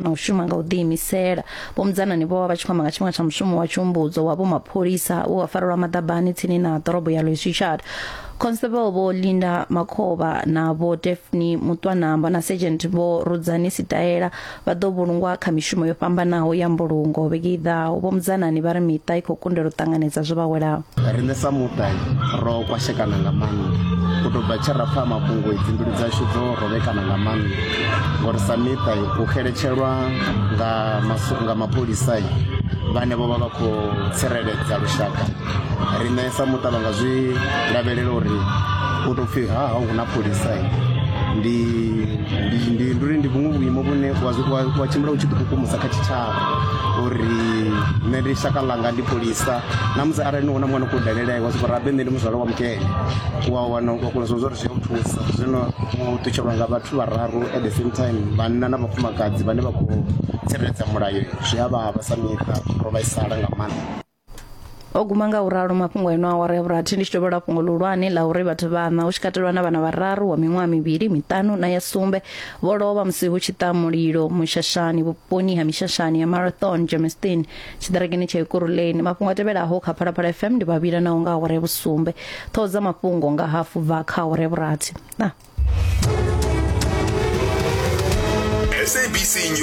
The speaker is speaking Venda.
na u shuma nga u ḓiimisela. Vho Mudzanani vho vha vha tshi khou amba nga tshifhinga tsha mushumo wa tshiumbudzo wa vhomapholisa we wa farelwa maḓabani tsini na ḓorobo ya Louis Trichardt. Constable Vho Linda Makhovha na Vho Daphne Mutwanamba na Sergeant Vho Rudzani Sitaela vha ḓo vhulungwa kha mishumo yo fhambanaho ya mbulungo vhege i ḓaho. Vho Mudzanani vha ri miṱa i khou kundelwa u ṱanganedza zwo vha welaho. Riṋe sa muṱa ro kwashekana nga maanḓa u tou bva tshe ra pfa mafhungo dzi mbilu dzashu dzo rovhekana nga maanḓa ngori sa miṱa u xeletshelwa nga nga mapholisa vhane vho vha vha khou tsireledza lushaka riṋe sa muṱa vha nga zwi lavhelela uri u tou pfhi ha ha hu na pholisa ndi ndi ndi ndi uri ndi vhuṅwe vhuimo vhune wa wa tshimbila u tshi ḓikukumusa kha tshitshavha uri nṋe ndi shaka ḽanga ndi pholisa na musi arali ni wana mwana khou dalela wa soko rabe nṋe ndi muzwala wa mukene wa wana wa kona zwa uri zwi a u thusa zwino u ṱutshelwa nga vhathu vhararu at the same time vhanna na vhafumakadzi vhane vha khou tsireledza mulayo zwi a vhavha sa miṱa ro vhaisala nga maanḓa. O guma nga u ralo mafhungo eno awara ya vhurathi ndi tshi tovhela fhungo ḽihulwane ḽa uri vhathu vhaṋa hu tshi katelwa na vhana vhararu wa miṅwaha mivhili, miṱanu na ya sumbe vho lovha musi hu tshi ṱa mulilo mushashani vhuponi ha mishashani ya Marathon Germiston tshiṱirekeni tsha Ekurhuleni. Mafhungo a tevhelaho kha Phalaphala FM ndi vhavhila naho nga awara ya vhusumbe. Ṱhoho dza mafhungo nga hafu bva kha awara ya vhurathi. Na. SABC News.